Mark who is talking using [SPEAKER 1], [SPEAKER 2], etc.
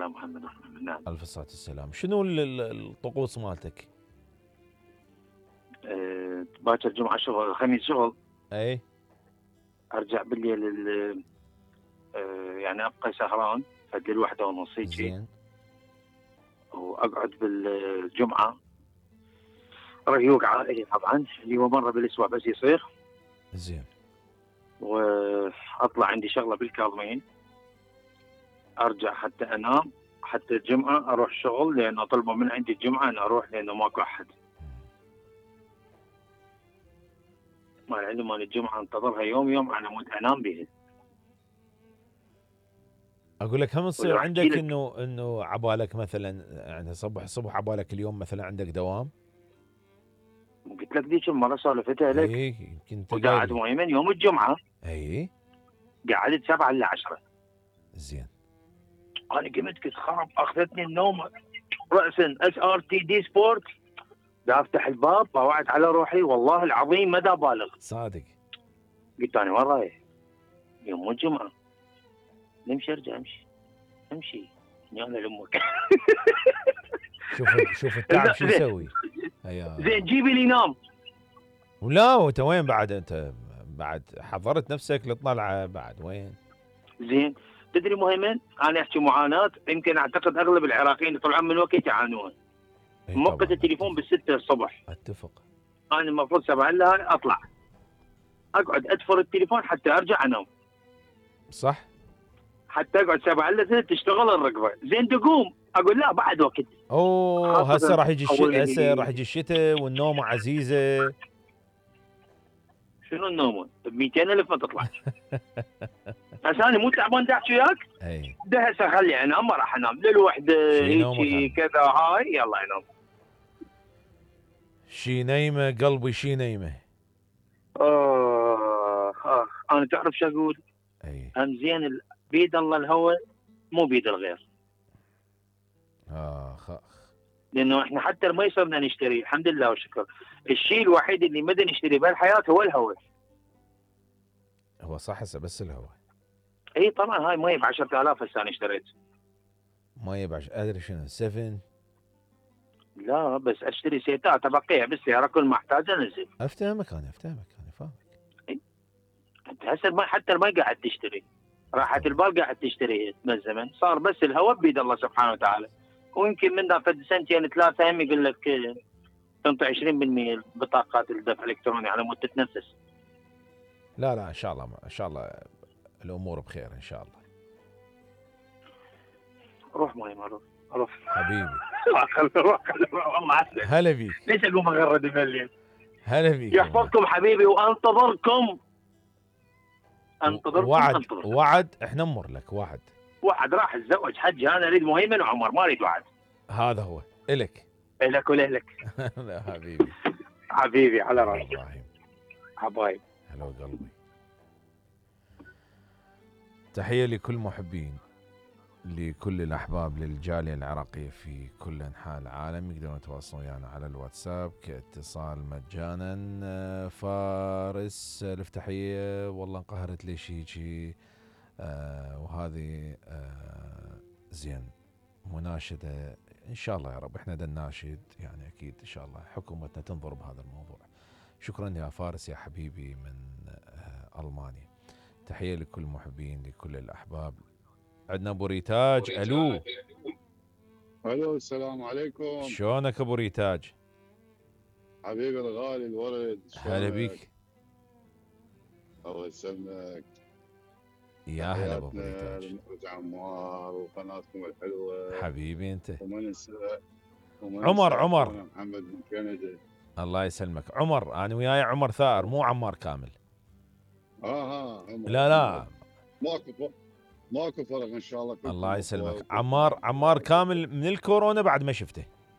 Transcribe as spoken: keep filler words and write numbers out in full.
[SPEAKER 1] محمد. نعم.
[SPEAKER 2] الف صلاة والسلام. شنو ال- ال- الطقوس مالتك؟
[SPEAKER 1] أه باكر جمعه شغل، الخميس شغل.
[SPEAKER 2] اي.
[SPEAKER 1] ارجع بالليل ال- أه يعني ابقى سهران لحد الوحده ونص هيجي.
[SPEAKER 2] زين.
[SPEAKER 1] واقعد بالجمعه ريوق عائلي طبعا، اللي هو مره بالاسبوع بس يصير.
[SPEAKER 2] زين.
[SPEAKER 1] واطلع عندي شغله بالكاظمين، ارجع حتى انام، حتى الجمعه اروح شغل لانه طلبوا من عندي الجمعه ان اروح لانه ماكو احد. مال عندي مال الجمعه انتظرها يوم يوم على مود انام به.
[SPEAKER 2] اقول لك هم يصير
[SPEAKER 1] ولو
[SPEAKER 2] عندك
[SPEAKER 1] أحكي لك-
[SPEAKER 2] انه انه عبالك مثلا يعني صبح صبح عبالك اليوم مثلا عندك دوام؟
[SPEAKER 1] قلت لك ذيك المره سولفتها لك.
[SPEAKER 2] اي يمكن انت
[SPEAKER 1] وقعد
[SPEAKER 2] قايل لي.
[SPEAKER 1] مؤمن يوم الجمعه
[SPEAKER 2] اي.
[SPEAKER 1] قعدت سبعة إلى عشرة.
[SPEAKER 2] زين.
[SPEAKER 1] انا قمت كنت خرب، اخذتني النوم راسا. اس ار تي دي سبورت، دا افتح الباب طوعت على روحي والله العظيم ما دا بالغ.
[SPEAKER 2] صادق.
[SPEAKER 1] قلت انا وين رايح؟ يوم الجمعه. نمشي ارجع امشي امشي يلا لامك.
[SPEAKER 2] شوف شوف التعب شو يسوي. هيا.
[SPEAKER 1] زين جيبي لي نام.
[SPEAKER 2] ولا وانت وين بعد؟ انت بعد حضرت نفسك للطلعه بعد وين؟
[SPEAKER 1] زين تدري مهيمن، انا احكي معاناه يمكن اعتقد اغلب العراقيين يطلعون من وقت يعانون.
[SPEAKER 2] إي
[SPEAKER 1] موقت
[SPEAKER 2] طبعاً.
[SPEAKER 1] التليفون بالستة الصبح،
[SPEAKER 2] اتفق.
[SPEAKER 1] انا المفروض سبعة الا اطلع اقعد ادفر التليفون حتى ارجع انام،
[SPEAKER 2] صح.
[SPEAKER 1] حتى اقعد سبعة الا ثلاث تشتغل الرقبه. زين تقوم اقول لا بعد وقت.
[SPEAKER 2] اوه
[SPEAKER 1] خاصة
[SPEAKER 2] هسه راح يجي
[SPEAKER 1] أول-
[SPEAKER 2] الشتاء، هسه راح يجي الشتاء والنوم عزيزه.
[SPEAKER 1] شنو النوم؟ ب مئتين ألف ما تطلع. هسه انا مو تعبان دا احكي وياك،
[SPEAKER 2] اي.
[SPEAKER 1] ده هسه خلي انام ما راح انام للوحده
[SPEAKER 2] شي نومك
[SPEAKER 1] هيجي
[SPEAKER 2] أنا.
[SPEAKER 1] كذا هاي يلا انام.
[SPEAKER 2] شي نايمه قلبي شي نايمه.
[SPEAKER 1] آه آه أنا تعرف شو أقول؟
[SPEAKER 2] اي.
[SPEAKER 1] أم زين ال- بيد الله الهوى مو بيد الغير.
[SPEAKER 2] اخ اخ.
[SPEAKER 1] لأنه إحنا حتى ما يصيرنا نشتري الحمد لله والشكر. الشيء الوحيد اللي ما نشتري بالحياة هو الهوى.
[SPEAKER 2] هو صح هسه بس الهواء.
[SPEAKER 1] إي طبعا هاي مي ب عشرة آلاف هسه أنا اشتريت.
[SPEAKER 2] ما يبعش ادري شنو سفن.
[SPEAKER 1] لا بس أشتري سيتات أبقيها بالسيارة كل ما أحتاج أنزل.
[SPEAKER 2] افتهمك انا افتهمك انا فاهمك.
[SPEAKER 1] أنت هسه المي حتى المي قاعد تشتري. راحة البال قاعد تشتري من الزمن، صار بس الهواء بيد الله سبحانه وتعالى. ويمكن من ذا فد سنتين ثلاثة هم يقول لك آه، تنطي عشرين بالمئة بطاقات الدفع الإلكتروني على مود تتنفس.
[SPEAKER 2] لا لا ان شاء الله ان شاء الله الامور بخير ان شاء الله.
[SPEAKER 1] روح ماي ما روح روح
[SPEAKER 2] حبيبي.
[SPEAKER 1] روح روح والله عسل.
[SPEAKER 2] هلا بيك.
[SPEAKER 1] ليش اقوم اغرد بالليل؟
[SPEAKER 2] هلا بيك.
[SPEAKER 1] يحفظكم حبيبي وانتظركم. انتظركم
[SPEAKER 2] وعد
[SPEAKER 1] انتظركم.
[SPEAKER 2] وعد احنا نمر لك وعد.
[SPEAKER 1] وعد راح اتزوج حج، انا اريد مهيمن وعمر ما اريد وعد.
[SPEAKER 2] هذا هو الك.
[SPEAKER 1] لك ولهلك.
[SPEAKER 2] لا حبيبي.
[SPEAKER 1] حبيبي على راسي.
[SPEAKER 2] ابراهيم.
[SPEAKER 1] حبايب.
[SPEAKER 2] هلا قلبي. تحية لكل محبين، لكل الأحباب، للجالية العراقية في كل أنحاء العالم. يقدرون يتواصلون ويانا على الواتساب كاتصال مجانا. فارس الفتحية والله انقهرت ليش هيجي. آه وهذه آه زين مناشدة إن شاء الله يا رب. إحنا دا الناشد يعني أكيد إن شاء الله حكومتنا تنظر بهذا الموضوع. شكرا يا فارس يا حبيبي من آه ألمانيا. تحية لكل المحبين لكل الأحباب. عندنا أبو ريتاج. ألو.
[SPEAKER 3] الو السلام عليكم.
[SPEAKER 2] شلونك أبو ريتاج؟
[SPEAKER 3] حبيبي الغالي الورد.
[SPEAKER 2] هلا بيك.
[SPEAKER 3] الله يسلمك.
[SPEAKER 2] يا هلا أبو ريتاج.
[SPEAKER 3] المخرج عمار وقناتكم الحلوه.
[SPEAKER 2] حبيبي أنت.
[SPEAKER 3] وما ننسى
[SPEAKER 2] عمر عمر
[SPEAKER 3] محمد من كندا.
[SPEAKER 2] الله يسلمك. عمر أنا وياي عمر ثائر مو عمار كامل.
[SPEAKER 3] اه ها
[SPEAKER 2] لا لا
[SPEAKER 3] ماكو فرق ماكو فرق ان شاء الله.
[SPEAKER 2] الله يسلمك. عمار عمار كامل من الكورونا بعد ما شفته.